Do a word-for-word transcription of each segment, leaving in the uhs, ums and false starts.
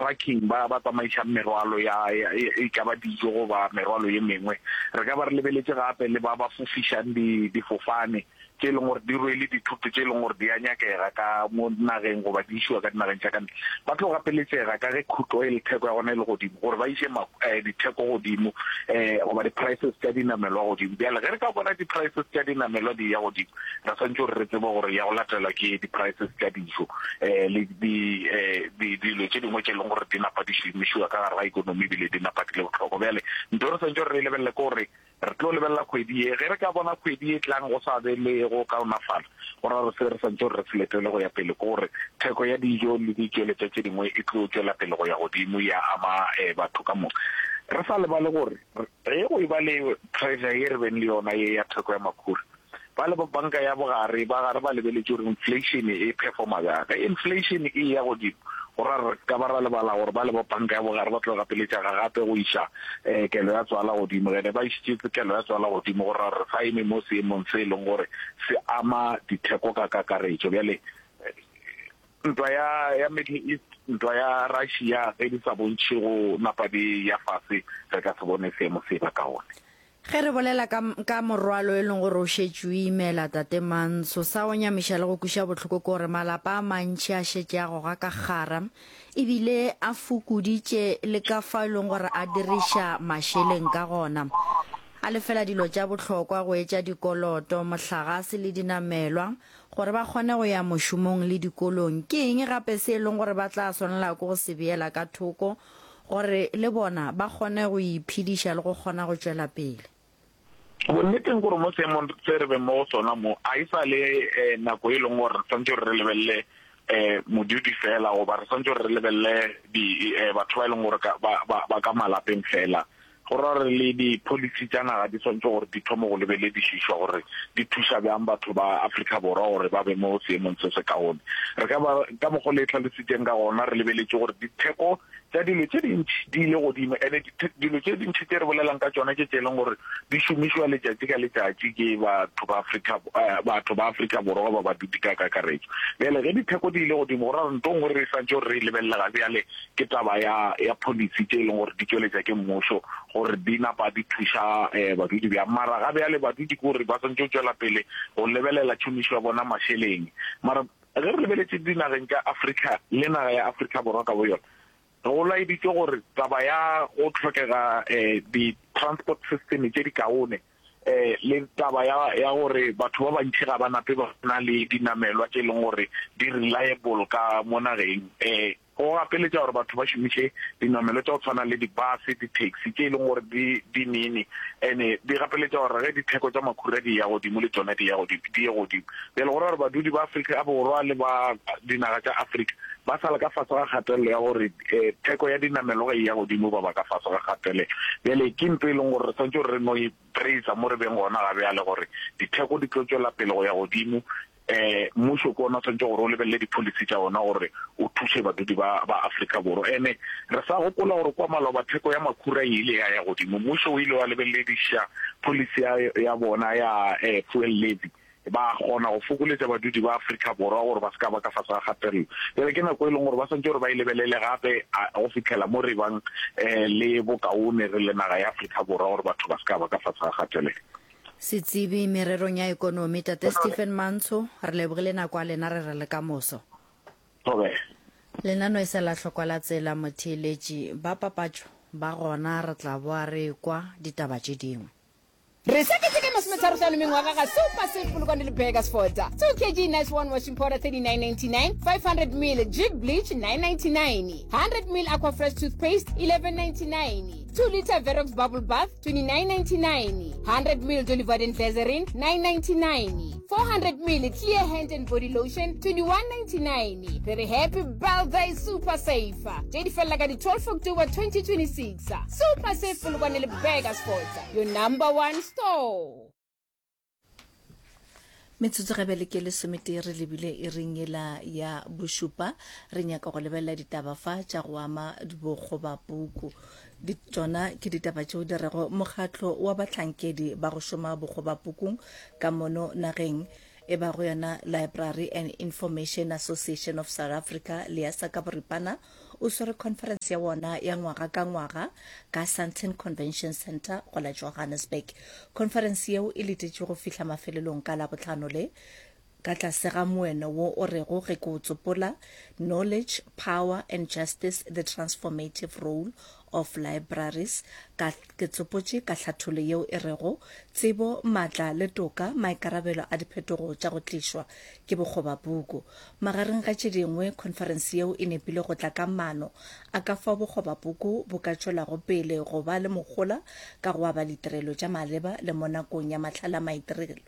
trucking ba ba tsamaišang merwalo ya e ka ba dijo goba merwalo ye mengwe. Re ka ba re lebeletše gape le ba ba fofišang difofane tše e leng gore di rwele dithoto tše e leng gore di a nyakega ka mo nageng goba di išiwa ka dinageng tša ka ntle. Ba tlo gapeletšega ka ge crude oil theko ya gona e le godimo gore ba iše ditheko godimo goba di-prices tša dinamelwa godimo. Bjale ge re ka bona di-prices tša dinamelwa di ya godimo, re swantše gore re tsebe gore ya go latelwa ke di-prices tša dijo le dilo tše dingwe tše e leng gore di napa di šomišiwa ka gare ga ikonomi ebile di napa di le bohlokwa. Bjale ntho e re swantše gore re e lebelele ke gore re tlo lebelela kgwedi ye. Ge re ka bona kgwedi e tlang go sa be le go kaonafala, go ra gore se re swantše gore re se letele go ya pele ke gore theko ya dijo le ditšweletša tše dingwe e tlo tšwela pele go ya godimo ya ama batho ka moka. Re sa lebale gore ge go eba le pressure ye re beng le yona ye ya theko ya makhura, ba le ba banka ya bogare ba gare ba lebeletše gore inflation e performa bjang. Ge inflation e eya godimo, go ra re ka ba ra lebala gore ba le ba banka ya bogare ba tlo gapeletšega gape go iša kelo ya tswala godimo. Ge ne ba išitše kelo ya tswala godimo, go ra re sa eme mo seemong se e leng gore se ama ditheko ka kakaretšo. Bjale ntwa ya ya Middle East, ntwa ya Russia, ge di sa bontšhe go napa di ya fase, re ka se bone seemo se ba kaone. Ge re bolela ka, ka morwalo e leng gore o šetše o imela Tate Mantsho, sa go nyamiša le go kweša bohloko ke gore malapa a mantši a šetše a goga ka kgara ebile a fokoditše le ka fao e leng gore a diriša mašeleng ka gona. A lefela dilo tša bohlokwa go etša dikoloto, mohlagase le dinamelwa gore ba kgone go ya mošomong le dikolong. Ke eng gape se e leng gore ba tla swanela ke go se beela ka thoko gore le bona ba kgone go iphediša le go kgona go tšwela pele? Bonneteng gore mo seemong se re beng mo go sona mo, a e sa le nako e leng gore re swantše gore re lebelele modudi fela goba re swantše gore re lebelele batho ba e leng gore ba ka malapeng fela. Go ra gore le di-policy tša naga di swantše gore di thome go lebeledišišwa gore di thuša bjang batho ba Afrika Borwa gore ba be mo seemong se se kaone. Re ka ba ka mokgwa le tlhalositšeng ka gona, re lebeletše gore ditheko tša dilo tše dintši di ile godimo, ene dilo tše dintši tše re bolelang ka tšona ke tše e leng gore di šomišwa letšatši ka letšatši ke batho ba Afrika batho ba Afrika Borwa goba badudi ka kakaretšo. Bjale ge ditheko di ile godimo, go ra gore ntho e nngwe re swantše gore re e lebelele ga bjale ke taba ya ya policy tše e leng gore di tšweletša ke mmušo gore di napa di thuša badudi bjang. Mara ga bjale badudi ke gore ba swantše go tšwela pele go lebelela tšhomišo ya bona mašeleng. Mara ge re lebeletše dinageng tša Afrika le naga ya Afrika Borwa ka boyona, go laeditšwe gore taba ya go hlokega di-transport system tše di kaone le taba ya ya gore batho ba bantši ga ba nape ba na le dinamelwa tše e leng gore di reliable ka mo nageng, go gapeletša gore batho ba šomiše dinamelwa tša go tshwana le di-bus, di-taxi tše e leng gore di di nene, ene di gapeletša gore ge ditheko tša makhura di ya godimo le tšona di ya godimo di ye godimo. Bjale go ra gore badudi ba Afrika Borwa le ba dinaga tša Afrika ba sala ka fase ga kgatelelo ya gore theko ya dinamelwa ge e ya godimo ba ba ka fase ga kgatelelo. Bjale ke ntho e leng gore re swantše gore re no e praisa mo re beng gona ga bjale gore ditheko di tlo tšwela pele go ya godimo. Mmušo ke ona o swantše gore o lebelele di-policy tša ona gore o thuše badudi ba ba Afrika Borwa. Ene re sa gopola gore kwa maloba theko ya makhura e ile ya ya godimo, mmušo o ile wa lebelediša policy ya ya bona ya fuel levy, ba kgona go fokoletša badudi ba Afrika Borwa gore ba se ka ba ka fase ga kgatelelo. Bjale ke nako e leng gore ba swantše gore ba e lebelele gape go fihlela mo re bang le bokaone re le naga ya Afrika Borwa gore batho ba se ka ba ka fase ga kgatelelo. Setsebi mererong ya ekonomi Tate Stephen Mantsho, re lebogile nako ya lena, re re le ka moso. Thobela. Lenano e sa la hlokwa la tsela motheeletši ba papatšo ba gona, re tla boa re kwa ditaba tše dingwe. Re sa keteka masometharo-hlano mengwaga ga Super Save Polokwane le Burgersfort. two kg Nice One washing powder thirty-nine ninety-nine, five hundred ml Jik bleach nine ninety-nine, hundred ml Aqua Fresh toothpaste eleven ninety-nine, two liter Verox bubble bath twenty-nine ninety-nine, hundred ml Dolly Varden glycerin nine ninety-nine, four hundred ml Clear hand and body lotion twenty-one ninety-nine. Re re happy birthday Super Save. Tše di felela ka di twelve October twenty twenty-six. Super Save Polokwane le Burgersfort, your number one store. Metsotso ga bjale ke lesometee re lebile iring yela ya bošupa. Re nyaka go lebelela ditaba fa tša go ama bokgobapuku. Tšona ke ditaba tšeo di rego mokgatlo wa bahlankedi ba go šoma bokgobapukung ka mono nageng e ba go yona Library and Information Association of South Africa le ya sa ka boripana o swere khonferense ya wona ya ngwaga ka ngwaga ka Sandton Convention Centre go la Johannesburg. Khonferense yeo e letetšwe go fihla mafelelong ka Labohlano le, ka tlase ga moeno wo o rego ge ke o tsopola, Knowledge, Power and Justice, The Transformative Role of Libraries, ka ke tsopotše ka hlathollo yeo e rego, Tsebo, Maatla le Toka, Maikarabelo a Diphetogo tša go Tlišwa ke Bokgobapuku. Magareng ga tše dingwe, khonferense yeo e nepile go tla ka maano a ka fao bokgobapuku bo ka tšwelago pele go ba le mohola ka go aba ditirelo tša maleba le mo nakong ya mahlale a maitirelo,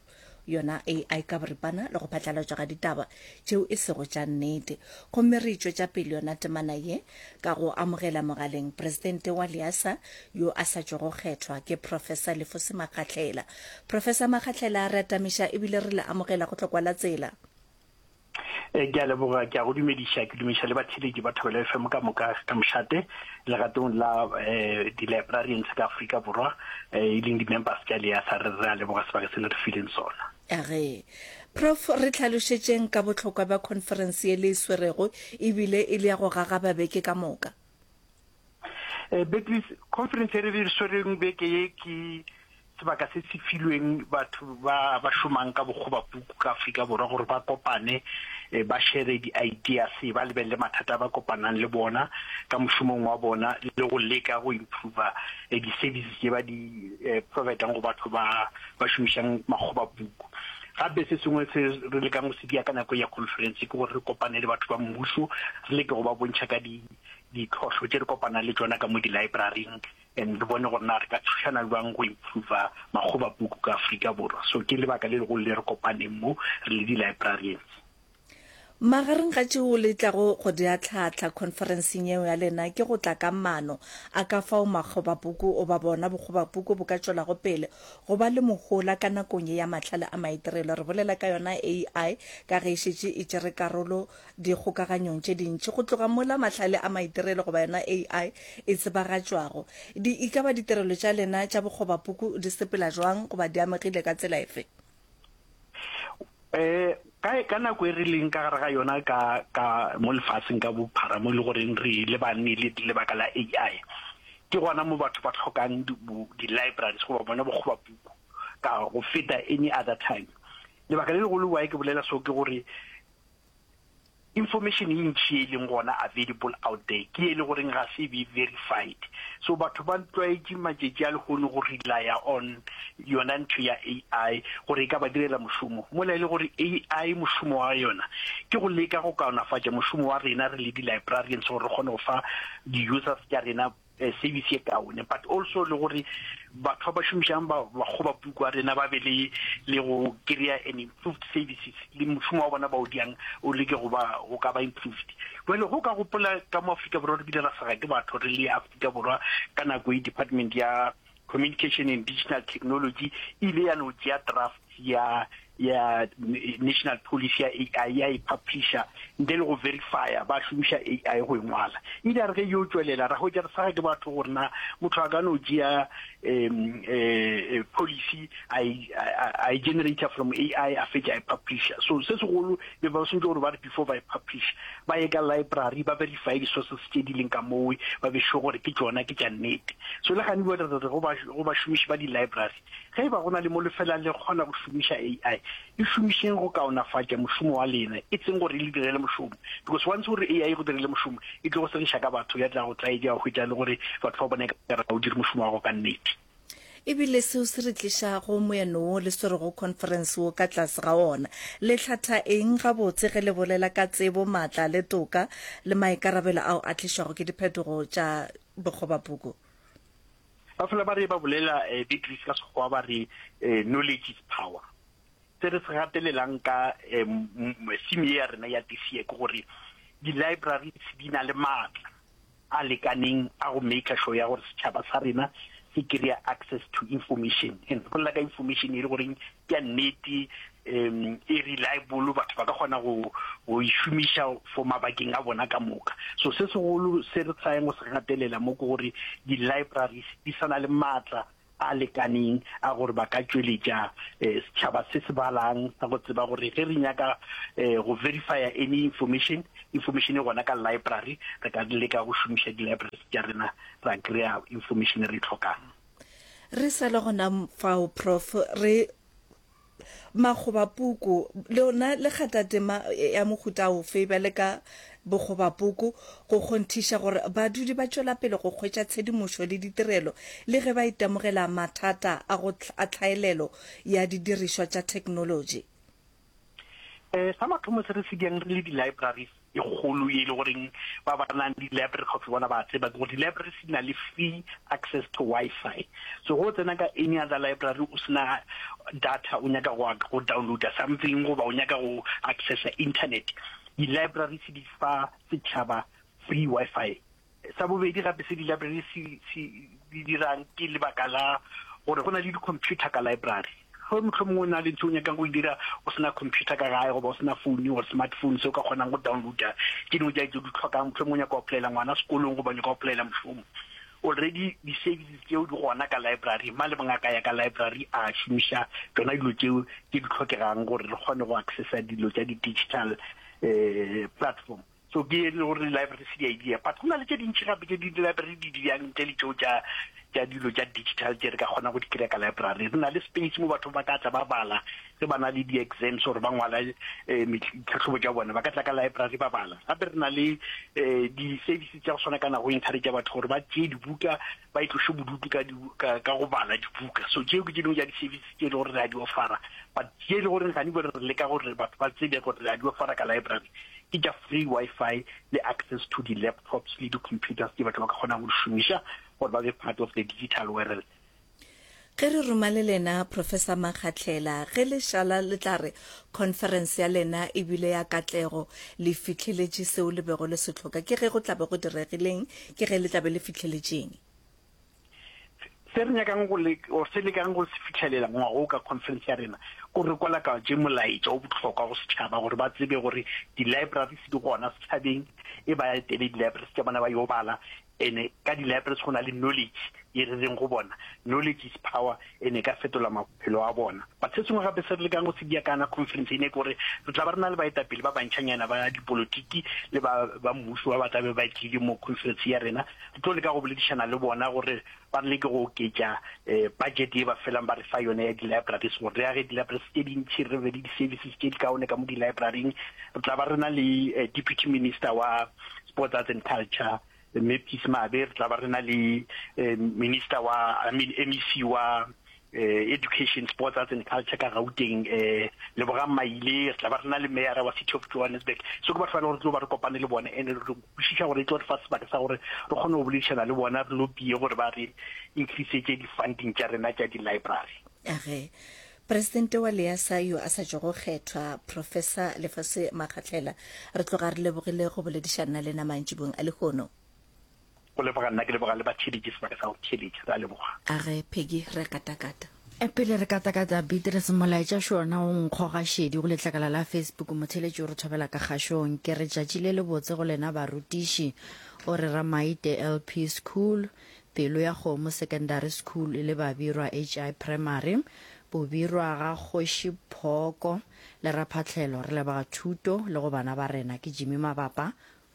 yona A I ka boripana, le go phatlalatšwa ga ditaba tšeo e sego tša nnete. Gomme re e tšwetša pele yona temana ye ka go amogela mogaleng Presidente wa LIASA yo a sa tšwago kgethwa, ke Professor Lefose Makgahlela. Professor Makgahlela, re atamiša ebile re le amogela go Tlokwa la Tsela. Ke a leboga, ke a go dumediša, ke dumediša le batheeletši ba Thobela F M ka moka ka mošate legatong la di-librarians ka Afrika Borwa, e leng di-members tša LIASA. Re re a leboga sebaka se le re fileng sona. Age. Prof, re hlalošetšeng ka bohlokwa bja khonferense ye le e swerego ebile e le ya go gagaba beke ka moka. Beatrice, khonferense e re e swereng beke ye ke sebaka se se filweng batho ba ba šomang ka bokgobapuku ka Afrika Borwa gore ba kopane, ba shere di-ideas, ba lebelele mathata a ba kopanang le bona ka mošomong wa bona le go leka go improva di-services tše ba di providang go batho ba ba šomišang makgobapuku. Gape se sengwe se re lekang go se dia ka nako ya conference ke gore re kopane le batho ba mmušo, re leke go ba bontšha ka ditlhohlo tše re kopanang le tšona ka mo di-libraryng, and re bone gore na re ka thušana bjang go improva makgobapuku ka Afrika Borwa. So ke lebaka le legolo le re kopaneng mo re le di-librarians. Magareng ga tšeo le tlago go di ahlahla khonferenseng yeo ya lena ke go tla ka maano a ka fao makgobapuku goba bona bokgobapuku bo ka tšwelago pele go ba le mohola ka nakong ye ya mahlale a maitirelo. Re bolela ka yona A I ka ge e šetše e tšere karolo dikgokaganyong tše dintši go tloga mola mahlale a maitirelo goba yona A I e tsebagatšwago. Di e ka ba ditirelo tša lena tša bokgobapuku di sepela jwang goba di amegile ka tsela efe? Eh, ka, ka nako e re leng ka gare ga yona ka, ka mo lefaseng ka bophara mo e le goreng re lebane le lebaka la A I, ke gona mo batho ba hlokang di-libraries goba bona bokgobapuku ka go feta any other time. Lebaka le legolo why ke bolela so ke gore information e ntši e leng gona available out there ke e le goreng ga se be verified. So batho ba tlwaetše matšatši a lehono go relya on yona ntho ya A I gore e ka ba direla mošomo, mola e le gore A I mošomo wa yona ke go leka go kaonafatša mošomo wa rena re le di-librarians gore re kgone go fa di-users tša rena service ye kaone, but also le gore batho ba ba šomišang ba bakgobapuku a rena ba be le le go kry-a an improved services le mošomo wa bona ba o diang o leke go ba go ka ba improved. Jwale go ka gopola ka mo Afrika Borwa re bile ra sega ke batho re le Afrika Borwa ka nako e department ya Communication and Digital Technology e ile ya no tšea draft ya ya national policy ya A I ya e publisher ntle le go verifya ba šomiša A I go e ngwala. E ile ya re ge yo tšwelela ra hwetša re sega ke batho gore na motho a ka no tšea um policy a e generator from A I a fetša a e publisher. So se segolo be ba swantše gore ba re before ba e publish ba ye ka library ba verify di-sources tše di leng ka mowe, ba be sure gore ke tšona ke tša nnete. So le gane re re go bašomiši ba di-library, ge e ba go na le mo lefela le kgona go šomiša A I, e šomišeng go kaonafatša mošomo wa lena, e seng gore e le direle mošomo, because once gore A I e go direle mošomo e tlo go segiša ka batho, ya tla go tlaetša wa hwetša le gore batho ba bona e ka re ga o dire mošomo wa gago ka nnete. Ebile seo se re tliša go moeno wo le swerego conference wo ka tlase ga wona. Le hlatha eng gabotse ge le bolela ka tsebo, maatla le toka le maikarabelo ao a tlišwago ke diphetogo tša bokgobapuku? Ba fela ba re ba bolela Beatrice ka Sekgowa ba re knowledge is power. Se re se gatelelang ka theme ye ya rena ya this year ke gore di-libraries di na le maatla a lekaneng a go make sure ya gore setšhaba sa rena se kry-a access to information. And re bolela ka information e le goreng ke ya nnete, um e reliable, batho ba ka kgona go go e šomiša for mabakeng a bona ka moka. So se segolo se re tryang go se gatelela mo ke gore di-libraries di sa na le maatla a lekaneng a gore ba ka tšweletša eh, setšhaba se se balang sa go tseba gore ge re nyaka eh, go verifya any information information e gona ka library re ka leka go šomiša di-libraries tša rena ra kry-a information e re e tlhokang Re sa le gona fao Prof re Makgobapuku lona le kgatha tema ya mohuta ofe bjale ka bokgobapuku go kgonthiša gore badudi ba tšwela pele go hwetša tshedimošo le ditirelo le ge ba itemogela mathata a go a tlhaelelo ya didirišwa tša theknolotši? Eh, sa mathomo se re se diang re le di-libraries e kgolo ye e le goreng ba ba nang le di-library gaufi bona ba tseba ke gore di-libraries di na le free access to Wi-Fi. So go tsena ka any other library o sena data o nyaka go go downloada something goba o nyaka go accessa internet, di-libraries di fa setšhaba free Wi-Fi. Sa bobedi gape se di-library se se di dirang ke lebaka la gore go na le di-computer ka library. Ge mohlomongwe o na le ntho o nyakang go e dira o se na computer ka gae goba o se na phone or smartphone se o ka kgonang go downloada tše dingwe tša tše o di hlokang, mohlomongwe o nyaka go applyela ngwana sekolong goba o nyaka go applyela mošomo, already di-services tšeo di gona ka library. Mang le mang a ka ya ka library a šomiša tšona dilo tšeo tše di hlokegang gore re kgone go accessa dilo tša di-digital um platform. So ke e le gore di-library se di a e dira, but go na le tše dintši gape tše di-library di di dirang ntle le tšeo tša tša dilo tša digital tše re ka kgonang go di kry-a ka library. Re na le space mo batho ba ka tla ba bala ge ba na le di-exams or ba ngwala eh, ditlhahlobo tša bona, ba ka tla ka library ba bala. Gape re na le eh, di-services tša go swana kana go encourage batho gore ba tšee dibuka ba itloše bodutu ka, ka, ka go bala dibuka. So tšeo ke tše dingwe tša di-services tše e le gore re a di offera, but tše e le gore gane re leka gore batho ba tsebe gore re a di offera ka library ke tša free Wi-Fi le access to di-laptops le di-computers tše batho ba ka kgonang go di šomiša gore ba be part of the digital world. Ge re roma le lena Professor Makgahlela, ge le šala le tla re conference ya lena e bile ya katlego, le fihleletše seo le bego le se hloka, ke ge go tla be go diregileng? Ke ge le tla be le fihleletšeng? Se re nyakang go le or se lekang go se fihlelela ngwaga wo ka conference ya rena ke gore re kwalakatše molaetša o bohlokwa go setšhaba gore ba tsebe gore di-libraries di gona setšhabeng, e ba etele di-libraries tša bona ba yo bala. Ene ka di-libraries go na le knowledge ye re reng go bona knowledge is power, ene e ka fetola maphelo a bona. But se sengwe gape se re lekang go se dia kana conference ene ke gore re tla ba re na le baetapele ba bantšhanyana ba dipolotiki le ba ba mmušo ba ba tla be ba tlile mo conference ya rena. Re tlo leka go boledišana le bona gore ba re leke go oketša budget ye ba felang ba re fa yona ya di-libraries gore re age di-libraries tše dintši, re be le di-services tše di kaone ka mo di-libraryng. Re tla ba re na le deputy minister wa sports, arts and culture Mme Peace Mabe, re tla ba re na le minister wa, I mean M E C wa education, sports, arts and culture ka Gauteng, Lebogang Maile, re tla ba re na le mayor wa City of Johannesburg. So ke batho ba e leng gore re tlo ba re kopane le bone, and re kwešiša gore e tlo re fa sebaka sa gore re kgone go boledišana le bona, re lobie gore ba re increasetše di-funding tša rena tša di-library. Age, Presidente wa LEASA yo a sa tšwago kgethwa, Professor Lefase Makgahlela, re tloga re lebogile go boledišana le lena mantšibong a lehono. Go leboga nna, ke leboga le batheeletši sebaka sa go theeletša. Re a leboga. Age, Peggy, re katakata. Pele re katakata, Beatrice, molaetša šo ona o nkgoga šedi go letlakala la Facebook. Motheeletši o re thobela ka kgašong. Ke re tšatši le lebotse go lena barutiši. O re Ramaite L P School, Pelo ya Kgomo Secondary School le Babirwa H I Primary, Bobirwa ga Kgoši Phooko le Raphahlelo. Re leboga thuto le go bana ba rena. Ke Jimmy Mabapa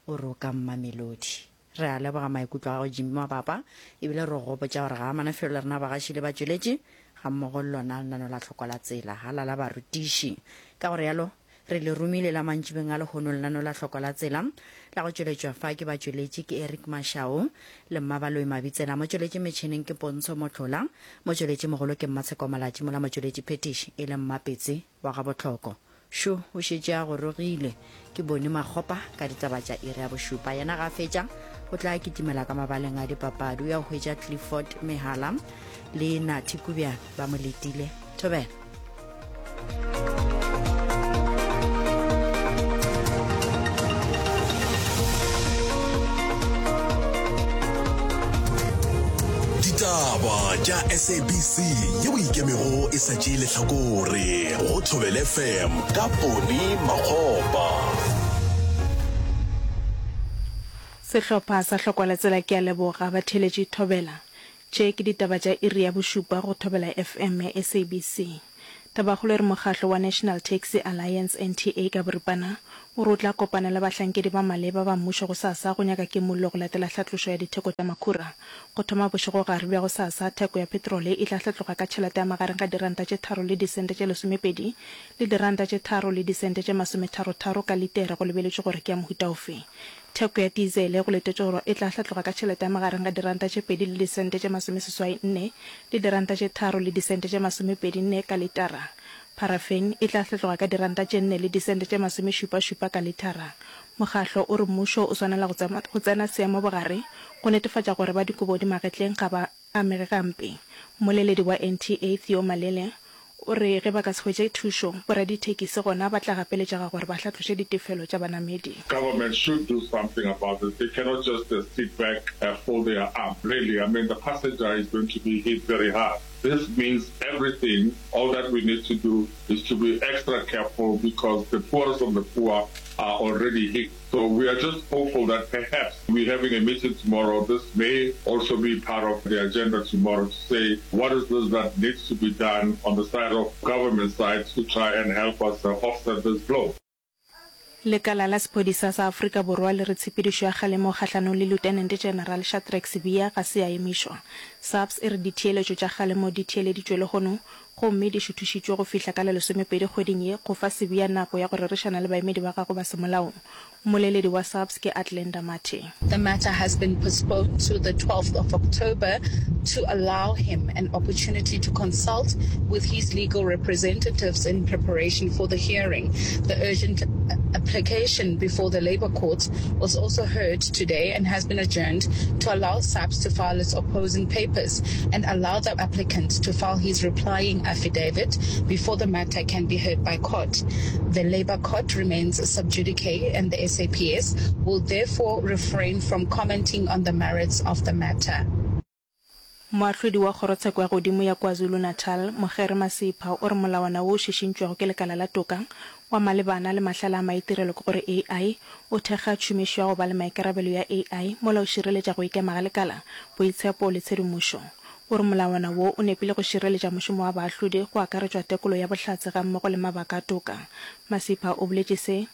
o re o ka Mmamelodi. Re a leboga maikutlo a gago Jimmy Mabapa, ebile re go gopotša gore ga a mana felo le rena bagaši le batšweletši gammogo le lona lenano la Tlhoko la Tsela. Halala barutiši. Ka go realo, re le romile la mantšibeng a lehono lenano la Tlhoko la Tsela la go tšweletšwa fa ke batšweletši ke Eric Mashau le Mmabaloi Mabitsela. Motšweletši metšhineng ke Pontsho Mohlola, motšweletši mogolo ke Mmatsheko Malatši, mola motšweletši phetiši e le Mmapetse wa ga Bohloko. Šo o šetše a gorogile. Ke bone Makgopa ka ditaba tša iri ya bošupa. Yena ga a fetša o tla kitimela ka mabaleng a dipapadi. O ya go hwetša Clifford Mehala le Nathi Kubjana ba mo letile. Thobela. Ditaba tša S A B C yeo ikemego e sa tšee lehlakore go Thobela F M ka Poni Makgopa. Sehlopha sa Hlokwa la Tsela ke a leboga batheeletši Thobela. Tše ke ditaba tša iri ya bošupa go Thobela F M ya S A B C. Tabakgolo e re mokgahlo wa National Taxi Alliance, N T A ka boripana, o re o tla kopana le bahlankedi ba maleba ba mmušo gosasa go nyaka kimollo go latela hlatlošo ya ditheko tša makhura. Go thoma bošegogare bja gosasa, theko ya petrole e tla hlatloga ka tšhelete ya magareng ga diranta tše tharo le disente tše lesomepedi le diranta tše tharo le disente tše masometharo-tharo ka litere go lebeletšwe gore ke ya mohuta ofe. Theko ya tizele go letetšwe gore e tla hlatloga ka tšhelete ya magareng ga diranta tše pedi le disente tše masomeseswai nne le diranta tše tharo le disente tše masomepedi nne ka litara. Paraffin e tla hlatloga ka diranta tše nne le disente tše masomešupa-šupa ka litara. Mokgahlo o re mmušo o swanela go tsena seemo bogare go netefatša gore ba dikobo di magetleng ga ba amege gampe. Mmoleledi wa N T A Theo Malele o re ge ba ka se hwetše thušo, boradithekisi gona ba tla gapeletšega gore ba hlatloše ditefelo tša banamedi. Government should do something about this. They cannot just sit back, fold their arms. Really, I mean, the passenger is going to be hit very hard. This means everything. All that we need to do is to be extra careful because the poorest of the poor are already hit. So we are just hopeful that perhaps we're having a meeting tomorrow. This may also be part of the agenda tomorrow to say what is this that needs to be done on the side of government side to try and help us offset this blow. Lekala la sephodisa sa Afrika Borwa le re tshepedišo ya kgalemo kgahlanong le Lieutenant General Shadrack Sibiya ga se ya emišwa. SAPS e re ditheeletšo tša kgalemo di theeleditšwe lehono gomme di šuthišitšwe go fihla ka la lesomepedi kgweding ye go fa Sibiya nako ya go rerišana le baemedi ba gagwe ba semolao. Mmoleledi wa SAPS ke Athlenda Mathe. The matter has been postponed to the twelfth of October to allow him an opportunity to consult with his legal representatives in preparation for the hearing. The urgent application before the Labour Court was also heard today and has been adjourned to allow SAPS to file its opposing papers and allow the applicant to file his replying affidavit before the matter can be heard by court. The Labour Court remains sub judice and the S A P S will therefore refrain from commenting on the merits of the matter. Moahlodi wa Kgorotsheko ya Godimo ya KwaZulu-Natal, Mokgere Masipha o re molawana wo o šišintšwego ke lekala la toka wa malebana le mahlale a maitirelo ke gore A I o thekga tšhomišo ya go ba le maikarabelo ya A I mola o šireletša go ikema ga lekala, boitshepo le tshedimošo. O re molawana wo o nepile go šireletša mošomo wa baahlodi go akaretšwa tekolo ya bohlatse gammogo le mabaka a toka. Masipha o boletše se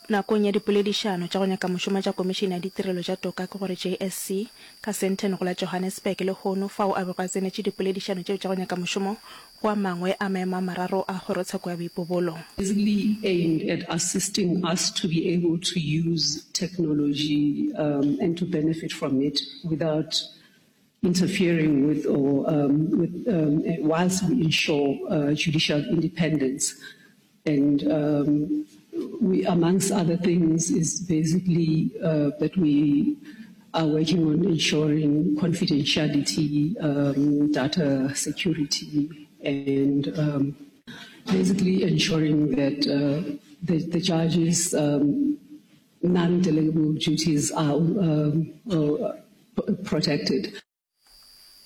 nakong ya dipoledišano tša go nyaka mošomo tša Komišene ya Ditirelo tša Toka ke gore J S C ka Sandton go la Johannesburg lehono fao a bego a tsenetše dipoledišano tšeo tša go nyaka mošomo go a mangwe a maemo a mararo a kgorotsheko ya boipobolo. Basically aimed at assisting us to be able to use technology um, and to benefit from it without interfering with or um, with um, whilst we ensure uh, judicial independence. And um, we, amongst other things, is basically uh, that we are working on ensuring confidentiality, um, data security, and um, basically ensuring that uh, the, the judges' um, non-delegable duties are um, uh, protected.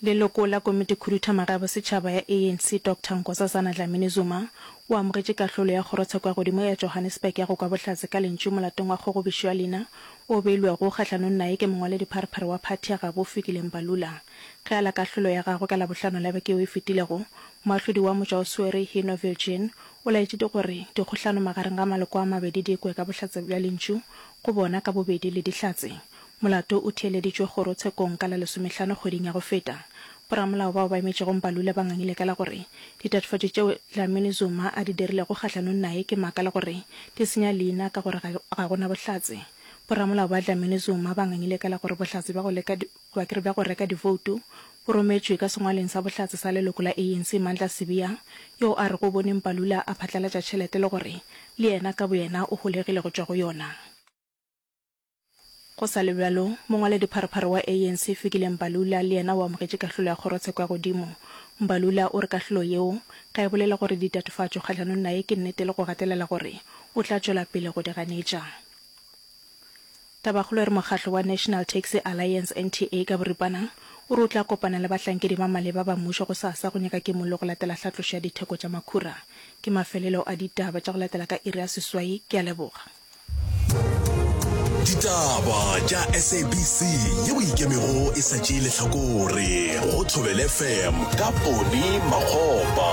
Leloko la Komitikhuduthamaga ya Bosetšhaba ya A N C Doctor Nkosazana Dlamini Zuma o amogetše kahlolo ya Kgorotsheko ya Godimo ya Johannesburg ya go kwa bohlatse ka lentšu molatong wa kgogobišo ya leina o beilwego kgahlanong naye ke mongwaledipharephare wa phathi ya gabo Fikile Mbalula. Ge a la kahlolo ya gagwe ka Labohlano la beke yeo e fetilego, moahlodi wa motšwaoswere Hino Viljoen o laetše gore dikgohlano magareng ga maloko a mabedi di kwe ka bohlatse bja lentšu go bona ka bobedi le dihlatse. Molato o theeleditšwe kgorotshekong ka la lesomehlano kgweding ya go feta. Boramolao bao ba emetšego Mbalula ba ngangile ka la gore ditatofatšo tšeo Dlamini Zuma a di dirilego kgahlanong naye ke maaka le gore di senya leina ka gore ga go na bohlatse. Boramolao ba Dlamini Zuma ba ngangile ka la gore bohlatse bja go leka goba ke re bja go reka divoutu bo rometšwe ka sengwaleng sa bohlatse sa leloko la A N C Mandla Sibiya yo a rego o bone Mbalula a phatlalatša tšhelete le gore le yena ka boyena o holegile go tšwa go yona. Go sa le bjalo, mongwaledipharephare wa A N C Fikile Mbalula le yena o amogetše kahlolo ya kgorotsheko ya godimo. Mbalula o re kahlolo yeo ga e bolele gore ditatofatšo kgahlanong naye ke nnete le go gatelela gore o tla tšwela pele go di ganetša. Tabakgolo e re mokgahlo wa National Taxi Alliance N T A ka boripana o re o tla kopana le bahlankedi ba maleba ba mmušo gosasa go nyaka kimollo go latela hlatlošo ya ditheko tša makhura. Ke mafelelo a ditaba tša go latela ka iri ya seswai. Ke a leboga. Ditaba tša S A B C ye o ikemego e sa tšee lehlakore go Thobela F M ka Poni Makgopa.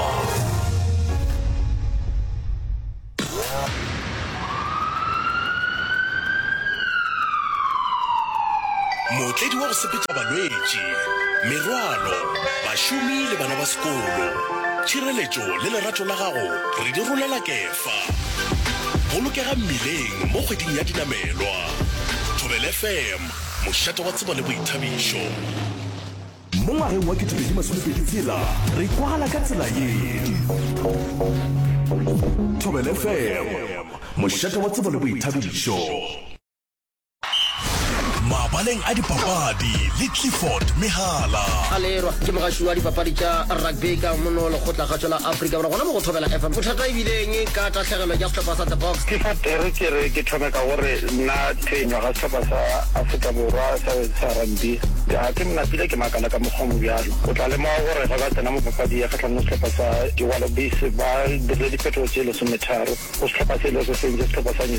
Mootledi wa go sepetša balwetši, merwalo, bašomi le bana ba sekolo. Tšhireletšo le lerato la gago re di rolela kefa. Bolokega mmileng mo kgweding ya dinamelwa. Thobela F M, mošate wa tsebo le boithabišo. Mo ngwageng wa ketepedi masomepedi tshela re kwagala ka tsela ye. Thobela F M, mošate wa tsebo le boithabišo. Mabaleng a dipapadi le Clifford Mehala. Alerwa ke mogaši wa dipapadi tša rugby ka mono lekgotlakgatšo la Afrika Borwa gona mo go Thobela F M. Bothata e bile eng ka tahlegelo ya sehlopha sa The Boks? Clifford, e re ke re ke thome ka gore nna phenyo ga sehlopha sa Afrika Borwa sa sa rugby ga ke napile ke makala ka mokgwa o mobjalo. O tla lemoga gore ge ba tsena mo papadi ya kgahlanong le sehlopha sa di-Wallabies ba dirile diphetogo tše lesometharo go sehlopha se e lego se fentše sehlopha sa New